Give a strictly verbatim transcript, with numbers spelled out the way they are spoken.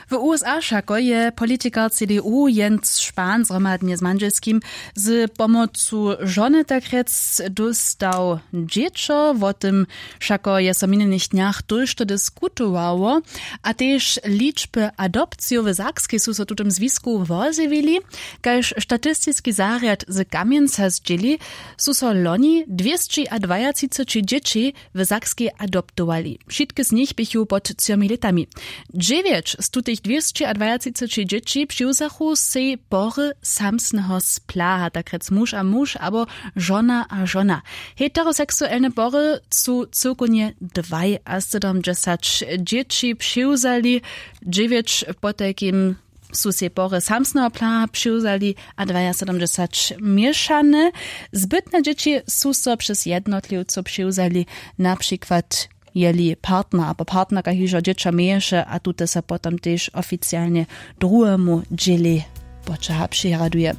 W usa wšako je politikar cdu jens spahn zhromadnje z mandźelskim z pomocu žony takrjec dóstał dźěćo. Wo tym wšako je so w minjenych dnjach tójšto diskutowało. A tež ličby adopcijow w sakskej su so w tutym zwisku wozjewili. Kaž statistiski zarjad z kamjenca zdźěli, su so loni dwěsći a dwajatřiceći dźěći w sakskej adoptowali. Wšitke z nich běchu pod třomi lětami. Dźewjeć z tutych dwěsći a dwajatřiceći dźěći přiwzachu sej pory samsneho splaha takrjec muž a muž abo žona a žona. Heteroseksuelne pory su cyłkownje dwaj a sydomdźesać dźěći přiwzali. Dźewjeć potajkim su sej pory samsneho plaha přiwzali a dwajasydomdźesać měšane. Zbytne dźěći su so přez jednotliwcow přiwzali, na přikład jeli partner abo partnerka hižo dźěćo měješe a tute so potom tež oficialnje druhemu dźělej poćaha přihraduje.